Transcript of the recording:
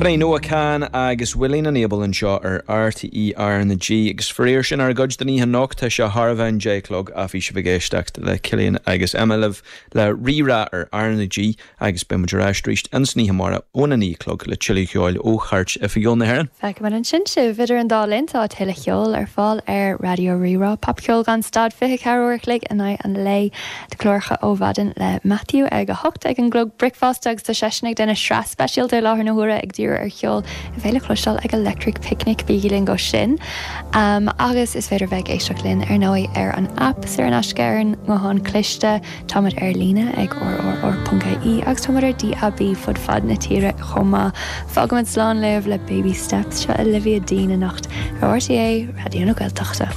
B'in é Noah Kahan agus Willie na Neighbor anseo ar RTÉ R na G agus faraor sin ár gcuid don oíche anocht. Tá sé thar a bheith an 10 a chlog ach bhí sibh ag éisteacht le Cillian agus Emma libh le Rí-Rá ar R na G agus beidh muid ar ais arís insan oíche amárach óna 9 a chlog le tuilleadh ceoil ó Chairt Oifigiúil na hÉireann. Feicfimid ansin sibh! Idir an dá linn tá tuilleadh ceoil ar fáil ar Raidió Rí-Rá, popcheol gan stad 24 uair a chloig in aghaidh an lae. Tá cláracha ó mhaidin le Matthew ag a hocht ag an gclog bricfeasta agus tá seisean ag déanamh sraith speisialta i láthair na huaire ag díriú ar cheol a bheidh le cloisteáil ag Electric Picnic, bígí linn go sin! Agus is féidir bheith ag éisteacht linn ar ndóigh ar an aip saor in aisce ar an nguthán cliste. Táimid ar líne ag rrr.ie agus táimid ar DAB fud fad na tíre chomh maith. Fágaimid slán libh le Baby Steps, seo Olivia Dean anocht ar RTÉ Raidió na Gaeltachta.